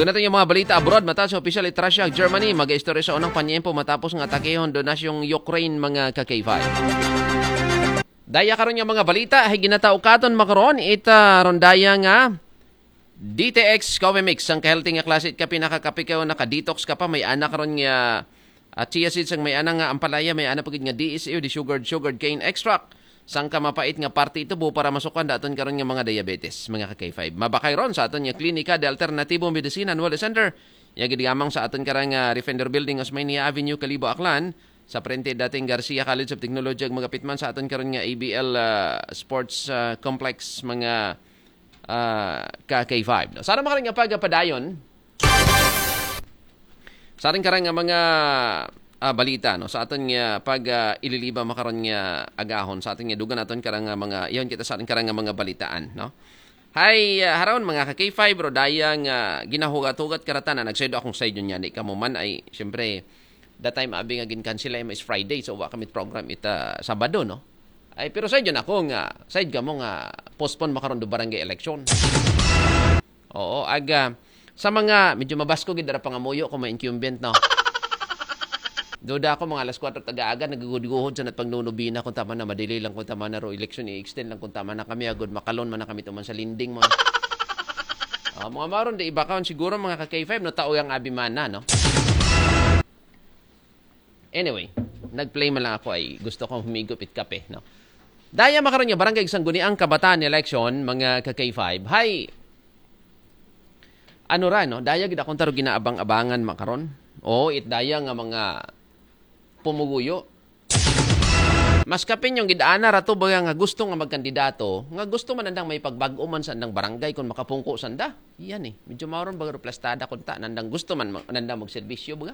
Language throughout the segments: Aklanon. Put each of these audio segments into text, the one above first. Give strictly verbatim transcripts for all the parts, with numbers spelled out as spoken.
Doon natin yung mga balita abroad. Mata sa opisyal it Russia, Germany mag-istorya sa unang panyempo matapos nga atakehon doon na yung Ukraine, mga ka-K five. Daya karon nga mga balita ay ginataukaton makaron ita rondaya nga D T X Coffee Mix, ang ka-healthy nga klase it kape, nakakape ka o naka-detox ka pa, may anak ron nga at chia seeds ang may ana nga ampalaya, may ana pagid nga D S A o di sugared, sugared cane extract. Sang ka mapait nga parte ito buo para masukan daton karon nga mga diabetes, mga ka-K five. Mabakay ron sa aton nga klinika de alternatibo medicine and wellness center. Yagid gamang sa aton karang uh, Refender Building, Osmania Avenue, Kalibo, Aklan. Sa prente dating Garcia College of Technology, ang magapit man sa aton karon nga A B L uh, Sports uh, Complex, mga uh, ka-K five. No? Sa naman karon nga pagpadayon, sa ating karang nga mga ah, balita, no, sa aton nga pag ah, ililiba makaron nga agahon, sa aton nga dugan naton karang nga mga iyon kita sa aton karang nga mga balitaan, no. Hay ah, haron mga ka-K five, bro, daya nga ginahugat-hugat karata na nagsayo akong side niya, di ka mo man ay siyempre that time abi nga ginkansela ay is Friday, so wa kami program ita Sabado, no. Ay pero side yun ako nga side ka mo nga postpone makaron do barangay election. Oo, aga sa mga medyo mabasko gid dara pangamuyo ko may incumbent, no. Duda ako mga alas kwatro taga-aga nagugud-guhod sa nat pagnunubina kung tama na madili lang kung tama na ro election i-extend lang kung tama na kami agud makalon man na kami tuman sa lending mo. Ah, mga maron di iba kaon siguro mga ka-K five no tao yang abi man na, no. Anyway, nag-play man lang ako ay gusto kong humigop it kape, no. Daya makaron nga barangay Sangguniang Kabataan election mga ka-K five. Hay ano ra no, daya gid akong taro ginaabang-abangan makaron. Oo, it daya nga mga pumuguyo. Mas kapin yung gidana rato ba nga gusto nga magkandidato, nga gusto man andang may pagbag-o man sa andang barangay kung makapungko sanda. Iyan eh. Medyo mauron baga plastada kung ta nandang gusto man nandang magserbisyo baga.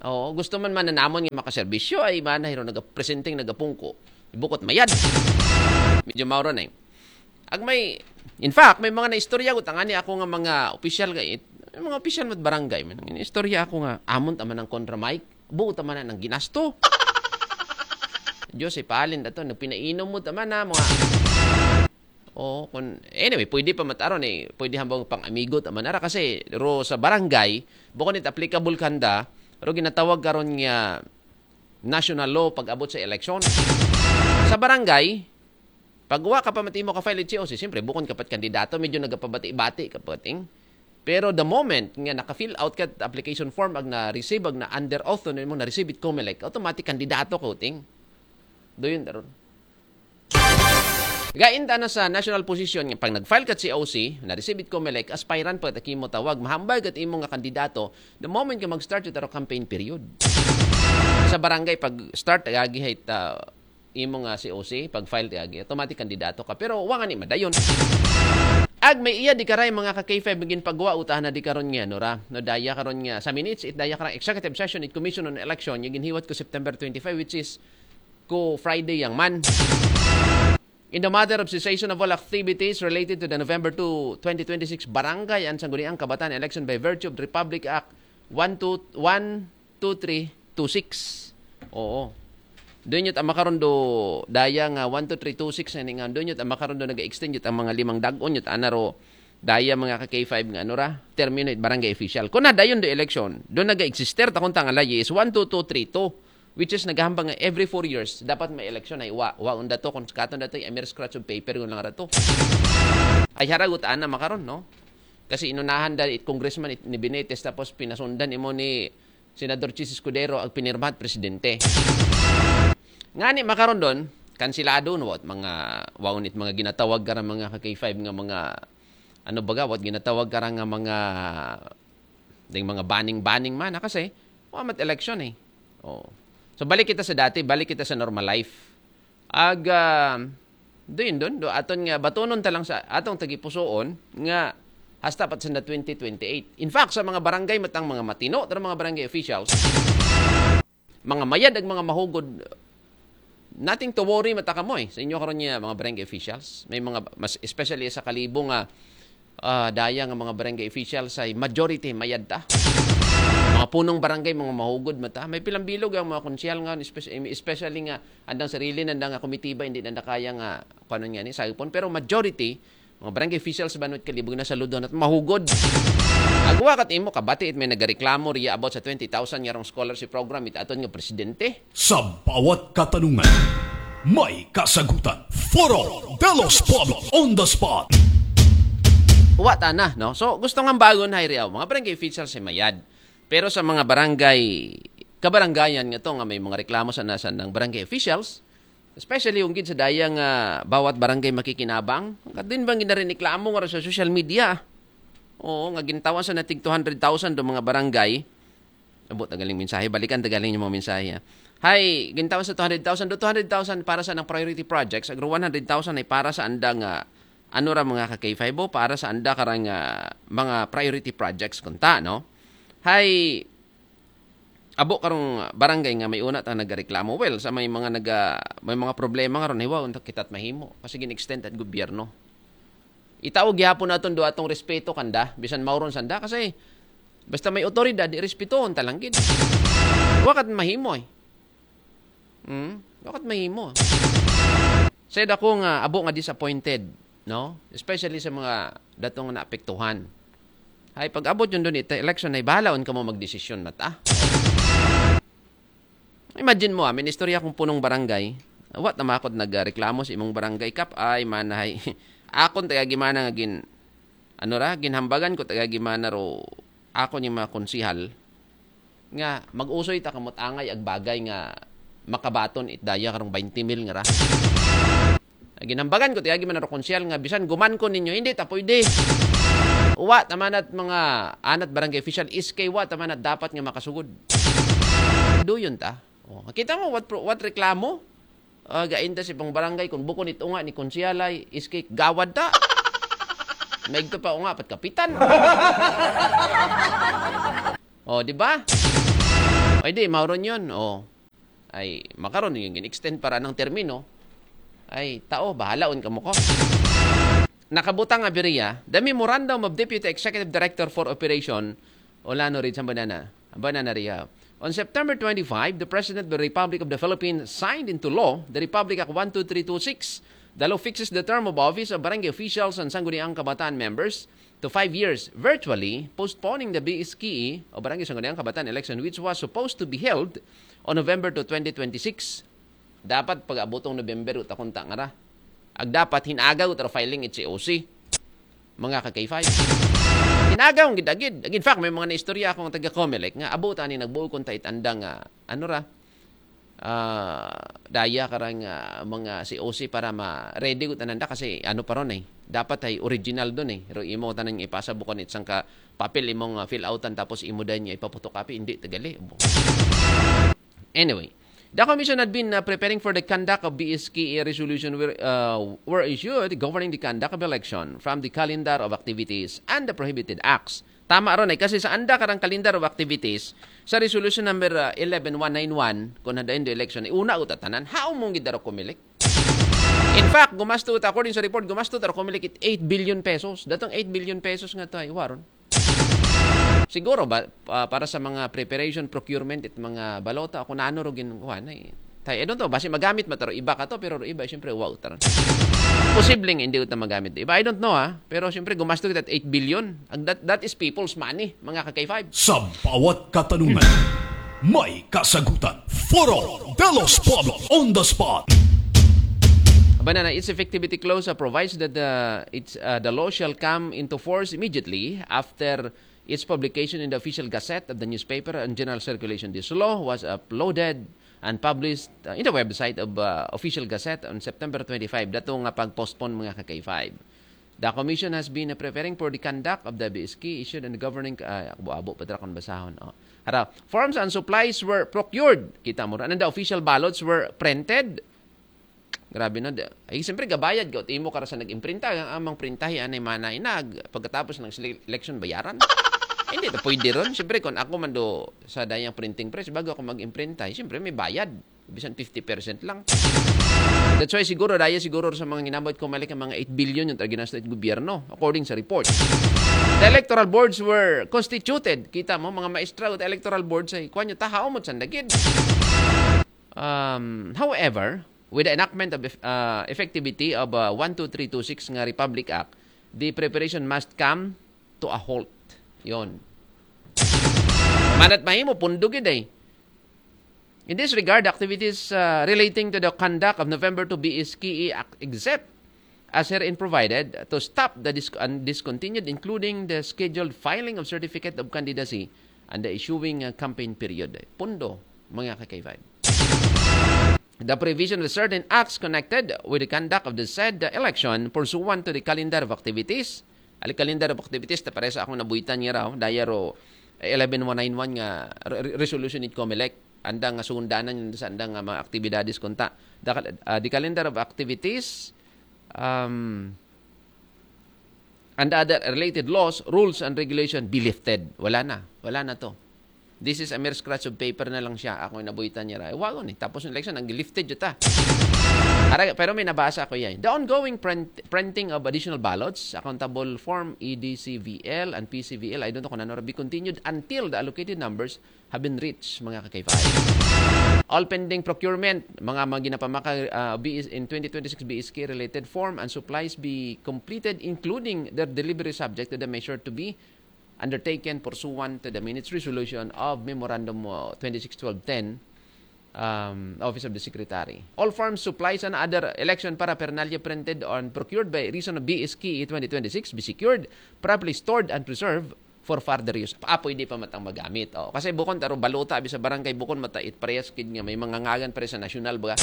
Oo, gusto man man namon nga makaserbisyo ay mana hiro nagapresenting nagapungko. Ibukot mayad. Medyo mauron eh. Ag may in fact, may mga naistorya ko tangani ako nga mga opisyal kay mga opisyal mat barangay man. Istorya ako nga amon ta man ang kontra Mike. Buo ta man ang ginasto. Diyos ay palin dato nagpinainom mo ta man na mga Oh, kun anyway, pwede pa mataron eh. Pwede hambang pang amigo ta man ara kasi ro sa barangay, bukon it applicable kanda, ro ginatawag karon nga national law pag-abot sa election. Sa barangay, pag wa ka pa matimo ka file it C O C, siyempre bukon ka pat kandidato, medyo nagapabati-bati ka pating. Pero the moment nga naka-fill out ka application form ag na-receive ag na under oath no mo na-receive it COMELEC, automatic kandidato ka uting. Do yun daron. Gain ta na sa national position nga pag nag-file ka C O C, na-receive it COMELEC, aspirant pa ta kimo tawag, mahambal kat imo nga kandidato the moment nga mag-start it aro campaign period. Sa barangay pag start agi hay ta imo nga C O C, pag file ti agi, automatic kandidato ka. Pero wa nga ni madayon. Ag may iya di karay mga ka K five magin pagwa utahan na di karon nga no ra. No daya karon nga sa minutes it daya karang executive session it Commission on Election yung ginhiwat ko September twenty-five, which is ko Friday yang man. In the matter of cessation of all activities related to the November two, twenty twenty-six Barangay and Sangguniang Kabataan Election by virtue of Republic Act one two, one two three two six. Oo. Doon yun ang makaroon do daya nga one two three two six na nga doon yun ang makaroon do nag-extend yun ang mga limang dagon yun anaro daya mga ka K five nga ano ra termino it barangay official. Kung na dayon do election, doon nag-exister ta kung tangala is one two two three two. Which is naghahambang nga every four years dapat may election ay wa wa unda to kung katon dato ay mere scratch of paper yun lang rato. Ay haragot ana makaron no. Kasi inunahan da it congressman it, ni Benitez tapos pinasundan imo ni Senador Chiz Escudero ag pinirmahan presidente. Ngani makaron don kansilado no what mga waon it mga ginatawag kara mga ka K five nga mga ano baga what ginatawag kara nga mga ding mga banning-banning man kasi wa mat election eh. Oh. So balik kita sa dati, balik kita sa normal life. Ag uh, doon doon do aton nga batonon ta lang sa atong tagipusoon nga hasta pat sa twenty twenty-eight. In fact, sa mga barangay matang mga matino, tara mga barangay officials, mga mayad ag mga mahugod, nothing to worry mata kamo eh. Sa inyo karon niya mga barangay officials, may mga mas especially sa Kalibo nga uh, daya nga mga barangay officials ay majority mayad ta. Mga punong barangay, mga mahugod mata. May pilang bilog ang mga konsyal nga, especially nga andang sarili nanda nga komitiba hindi nanda kaya nga kuanon nga ni sagpon pero majority Mga barangay officials sa Banwit Kalibog na saludo na mahugod. Agwa kat imo kabati it may nagareklamo riya about sa twenty thousand nga rong scholarship program it aton nga presidente. Sa bawat katanungan, may kasagutan. Foro de los Pueblos on the spot. Wa tana, no? So, gusto nga bagon hay riyaw, mga barangay officials sa Mayad. Pero sa mga barangay, kabarangayan nga to nga may mga reklamo sa nasa ng barangay officials, especially yung gid sa daya nga bawat barangay makikinabang, kadin bang ginarineklamo nga sa social media? Oo, nga gintawan sa natig two hundred thousand do mga barangay. Abot na galing mensahe, balikan ta galing yung mga mensahe. Ha? Hay, gintawan sa two hundred thousand do two hundred thousand para sa ng priority projects, agro one hundred thousand ay para sa anda nga ano ra mga ka K five o para sa anda karang ah, mga priority projects kunta, no? Hay, abo karong barangay nga may una ta nagareklamo. Well, sa may mga naga, may mga problema nga ron, hiwa unta kita't mahimo kasi gin-extend at gobyerno. Itaw gihapon naton do atong respeto kanda, bisan mauron sanda kasi basta may otoridad, irespetohon ta lang gid. Wakat mahimo eh. Hmm? Wakat mahimo. Said ako nga abo nga disappointed, no? Especially sa mga datong naapektuhan. Ay pag-abot yun doon ito, election ay bahalaon ka mo magdesisyon mata. Imagine mo, ah, may istorya kong punong barangay. Wa ta makod nagreklamo sa imong barangay kap ay manahay. Akon taga gimana nga gin ano ra, ginhambagan ko taga gimana ro ako ni mga konsihal nga mag-usoy ta kamot angay ag bagay nga makabaton it daya karong twenty mil nga ra. Ginhambagan ko taga gimana ro konsihal nga bisan guman ko ninyo hindi ta pwede. Wa tamanat mga anat barangay official iskay wa tamanat dapat nga makasugod. Duyon ta. Oh, kita mo what pro- what reklamo? Ah, gainda si pang barangay kung bukon it unga ni konsihalay iskay gawad ta. Maigto pa unga pat kapitan. Oh, di ba? Ay di, mauron yun. Oh. Ay, makaron yung extend para ng termino. Ay, tao, bahalaon ka mo ko. Nakabutang nga biriya, the memorandum of Deputy Executive Director for Operation Olano Reed Sambanana, Banana Ria. On September twenty-five, the President of the Republic of the Philippines signed into law the Republic Act one two three two six. The law fixes the term of office of barangay officials and Sangguniang Kabataan members to five years virtually, postponing the B S K E o Barangay Sangguniang Kabataan election which was supposed to be held on November to twenty twenty-six. Dapat pag-abutong November uta kunta nga ra. Ag dapat hinagaw ta filing it C O C. Mga ka K five. Hinagaw ang gidagid. In fact, may mga naistorya akong taga Comelec nga abutan ni nagbuo kung tait andang nga ano ra ah, daya karang ah, mga C O C para ma-ready ko tananda kasi ano pa ron eh. Dapat ay original doon eh. Pero imo tanan ipasa bukon it sangka papel imong uh, fill outan tapos imo din niya ipaputok api, hindi tagali. Anyway, the commission had been uh, preparing for the conduct of B S K E resolution were, uh, were issued governing the conduct of election from the calendar of activities and the prohibited acts. Tama ron eh, kasi sa anda karang calendar of activities, sa resolution number uh, eleven one nine one, kung hadain the election, iuna ko tatanan, how mong gidaro kumilik? In fact, gumasto ta, according sa report, gumasto ta kumilik it eight billion pesos. Datong eight billion pesos nga tayo, waron. Siguro ba, ah, para sa mga preparation, procurement, it mga balota, kung ano ro gin-, kuhan, ay, tayo, I don't know, basi magamit mataro iba ka to, pero iba, siyempre, wow, taron. Posibleng hindi ko magamit iba. I don't know, ha? Pero siyempre, gumasto kita eight billion. Ang that, that is people's money, mga ka-K five. Sa bawat katanungan, may kasagutan. Foro de los Pueblos on the spot. Banana, its effectivity clause uh, provides that the, it's, uh, the law shall come into force immediately after its publication in the official gazette of the newspaper and general circulation. This law was uploaded and published uh, in the website of uh, official gazette on September twenty-five. Dato nga pag-postpone mga ka-K five. The commission has been uh, preparing for the conduct of the B S K issued and governing uh, abo-abo pa kon basahon. Oh. Hara, forms and supplies were procured. Kita mo rin. And the official ballots were printed. Grabe na. Ay, siyempre, gabayad ka. Timo ka sa nag-imprinta. Ang amang printahi, anay manay na. Pagkatapos ng sele- election, bayaran. Hindi, to pwede ron. Siyempre, kung ako man do sa dayang printing press, bago ako mag-imprinta, siyempre, may bayad. Bisan fifty percent lang. That's why siguro, daya siguro sa mga ginamit ko, malik ang mga eight billion yung ginastos ng gobyerno, according sa report. The electoral boards were constituted. Kita mo, mga maestra with electoral boards ay, kuwan nyo, tahaw mo, sandagid. Um, however, with the enactment of uh, effectivity of uh, one two three two six nga Republic Act, the preparation must come to a halt. Yon. Manat mahimo, pundo gid eh. In this regard, activities uh, relating to the conduct of November two B S K E except as herein provided to stop the dis- and discontinued, including the scheduled filing of certificate of candidacy and the issuing uh, campaign period. Pundo, mga ka-K five. The provision of certain acts connected with the conduct of the said election pursuant to the calendar of activities. Ali calendar of activities, ta paresa akong nabuhitan nga raw, daya ro eleven one nine one nga re- re- resolution it COMELEC. Andang nga sundanan yun sa andang nga mga aktibidades kunta. The, cal- uh, the calendar of activities um, and other related laws, rules, and regulation be lifted. Wala na. Wala na to. This is a mere scratch of paper na lang siya. Ako yung nabuhitan niya. Ay, wagon eh. Tapos yung election, ang lifted yun ta. Ara, pero may nabasa ako yan. The ongoing print, printing of additional ballots, accountable form E D C V L and P C V L, I don't know kung ano, be continued until the allocated numbers have been reached, mga ka-K five. All pending procurement, mga mga ginapamaka uh, B S, in twenty twenty-six B S K related form and supplies be completed, including their delivery subject to the measure to be undertaken pursuant to the minutes resolution of Memorandum uh, twenty-six twelve ten, um, Office of the Secretary. All forms, supplies, and other election paraphernalia printed and procured by reason of B S K twenty twenty-six be secured, properly stored, and preserved for further use. Ah, pwede pa matang magamit. Oh, kasi bukon taro balota abi sa barangay, bukon mata it parehas kid nga may mga ngagan pare sa national, baga.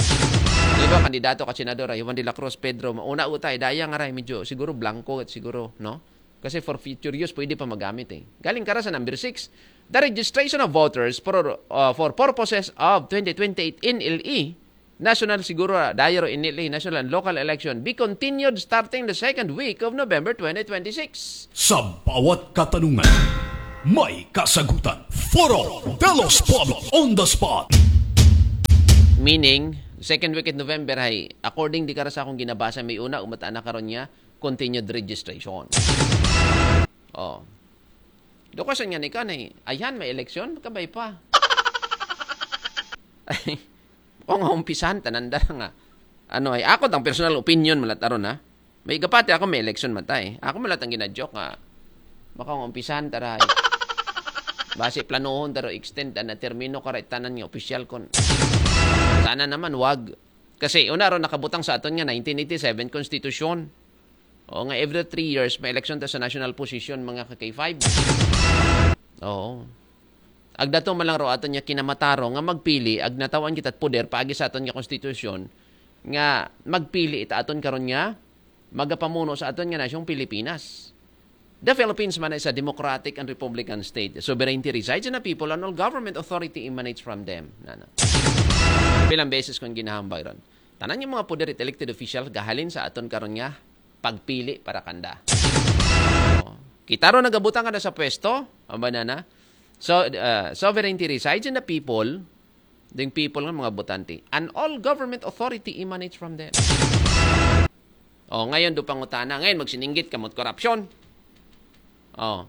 Di ba, kandidato ka senador, ay Juan de la Cruz, Pedro, mauna utay, daya nga ray, medyo siguro blanco at siguro, no? Kasi for future use, pwede pa magamit eh. Galing kara sa number six, the registration of voters for, uh, for purposes of twenty twenty-eight N L E, national siguro, daya ro N L E, national and local election, be continued starting the second week of November twenty twenty-six. Sa bawat katanungan, may kasagutan. Foro de los Pueblos on the spot. Meaning, second week of November ay, according di kara sa akong ginabasa, may una, umata na karon niya, continued registration. Oh. Do question nga ni kanay, ayan, may election? Kabay pa. Kung umpisan, tananda nga. Ano ay, ako tang personal opinion, malat aron ha. May gapati ako, may election matay. Ako malat ang ginajoke nga. Baka umpisan, taray. Basi planohon, taro extend, na termino ka tanan nga opisyal kon. Sana naman, wag. Kasi una ron nakabutang sa aton nga nineteen eighty-seven Constitution. O nga every three years may election ta sa national position, mga ka-K five. Oo. Agdato man lang ro aton nga kinamataro nga magpili, agnatawan kita poder paagi sa aton nga konstitusyon nga magpili ita aton karon nga magapamuno sa aton nga nasyong Pilipinas. The Philippines man is a democratic and republican state. Sovereignty resides in the people and all government authority emanates from them. Nana. Pilang beses kong ginahambay ron. Tanan yung mga poder it elected official gahalin sa aton karon nga pagpili para kanda. Oh. Kita ro nagabutang kada sa pwesto, ang banana. So, uh, sovereignty resides in the people, the people ng mga botante. And all government authority emanates from them. Oh, ngayon do pangutana. Ngayon magsininggit ka mo't korupsyon. Oh.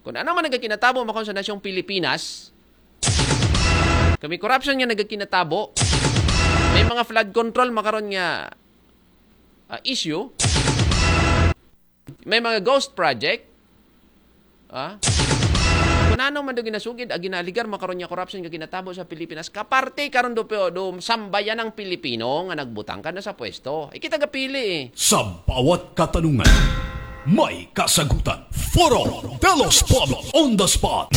Kung ano man nagkakinatabo makon sa nasyong Pilipinas, kami korupsyon nga nagkakinatabo, may mga flood control makaron nga ah, issue, may mga ghost project, ah, kung ano man do ginasugid, ag ginaligar, makaron niya korupsyon nga ginatabo sa Pilipinas, kaparte karon do, do sambayan ng Pilipino nga nagbutang ka na sa pwesto. Ikita gapili eh. Sa bawat katanungan, may kasagutan. Foro de los Pueblos on the spot.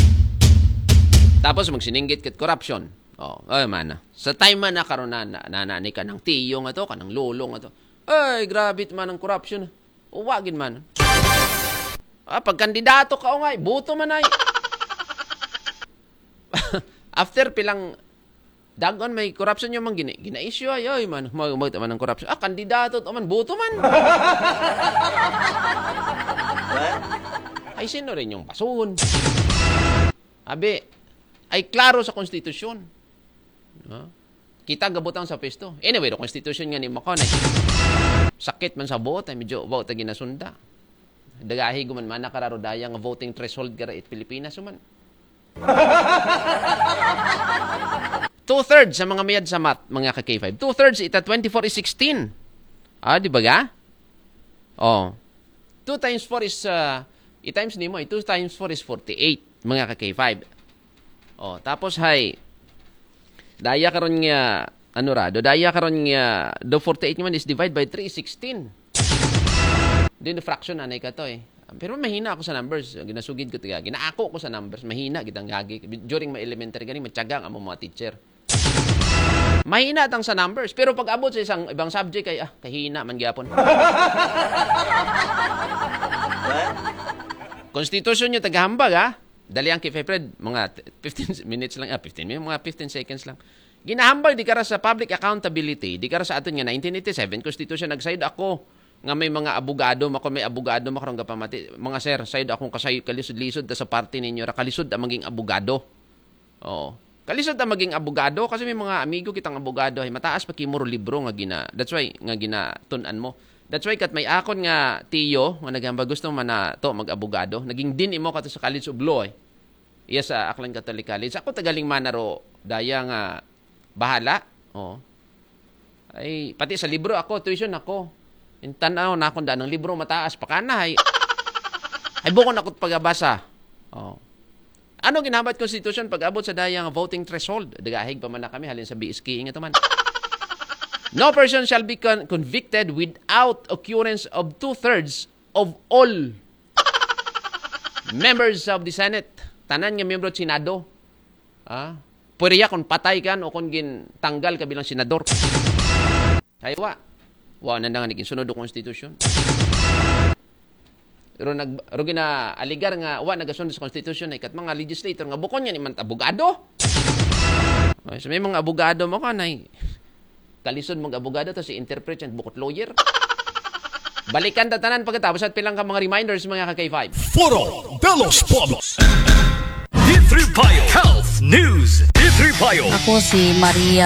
Tapos magsininggit kat korupsyon. Oh, ay mana. Sa time man na karon na, na, na, na ni kanang tiyo nga to, kanang lolo nga to. Ay, grabe man ang korupsyon. Uwagin man. Ah, pagkandidato ka, ungay, buto man ay. After pilang dagon may korupsyon yung mga gina, gina-issue ay, ay man, mag, mag, man ang korupsyon. Ah, kandidato to man, buto man. Ay, sino rin yung basuhon? Abi, ay klaro sa konstitusyon. No? Kita gabutang sa pwesto. Anyway, the constitution nga ni Macon eh. Sakit man sa buot, ay medyo buot ay ginasunda. Dagahi guman man nakararo daya nga voting threshold kara it Pilipinas man. Two-thirds sa mga mayad sa math, mga ka-K five. Two-thirds ita twenty-four is sixteen. Ah, di ba ga? Oh. Two times four is, uh, i-times nimo, eh, two times four is forty-eight, mga ka-K five. Oh, tapos hay, daya karon nga, ano ra, do daya karon nga, do forty-eight man is divide by three, sixteen. Then the fraction anay ka to eh. Pero mahina ako sa numbers. Ginasugid ko tiga, ginaako ko sa numbers. Mahina gitang gagi. During my elementary gani, matyaga ang among mga teacher. Mahina tang sa numbers. Pero pag abot sa isang ibang subject ay, ah, kahina man gyapon. Constitution nyo tagahambag ha. Dali ang K five Fred, mga fifteen minutes lang, ah, fifteen minutes, mga fifteen seconds lang. Ginahambag di kara sa public accountability, di kara sa aton nga nineteen eighty-seven Constitution, nagsayod ako nga may mga abogado, mako may abogado makarong gapamati. Mga sir, sayod akong kasay kalisod-lisod ta sa party ninyo ra, kalisod ang maging abogado. Oo. Kalisod ang maging abogado kasi may mga amigo kitang abogado ay mataas pa kimuro libro nga gina. That's why nga ginatun-an mo. That's why kat may akon nga tiyo nga nagamba gusto man na to mag-abogado. Naging dean imo kato sa College of Law eh. Iya sa Aklan Catholic College. Ako tagaling manaro daya nga bahala. Oh. Ay, pati sa libro ako, tuition ako. Intanaw na akong danang libro mataas pakana ay. Ay bukon ako pagabasa. Oh. Ano ginahambat constitution pag abot sa daya nga voting threshold? Dagahig pa man na kami halin sa B S K nga taman. No person shall be con- convicted without occurrence of two-thirds of all members of the Senate. Tanan nga miyembro sa Senado. Ah, pwede ya kung patay ka o kung gintanggal ka bilang senador. Ay wa. Wa na nga naging sunod ang constitution. Pero nag pero gina-alegar nga wa nagasunod sa constitution ay kat mga legislator nga bukon yan iman abogado. Ay, so may mga abogado mo ka na kalisod mong abogado to si interpret yan bukot lawyer. Balikan ta tanan pagkatapos at pilang ka mga reminders mga ka-K five. Foro de los Pueblos. D three Payo Health News. D three Payo. Ako si Maria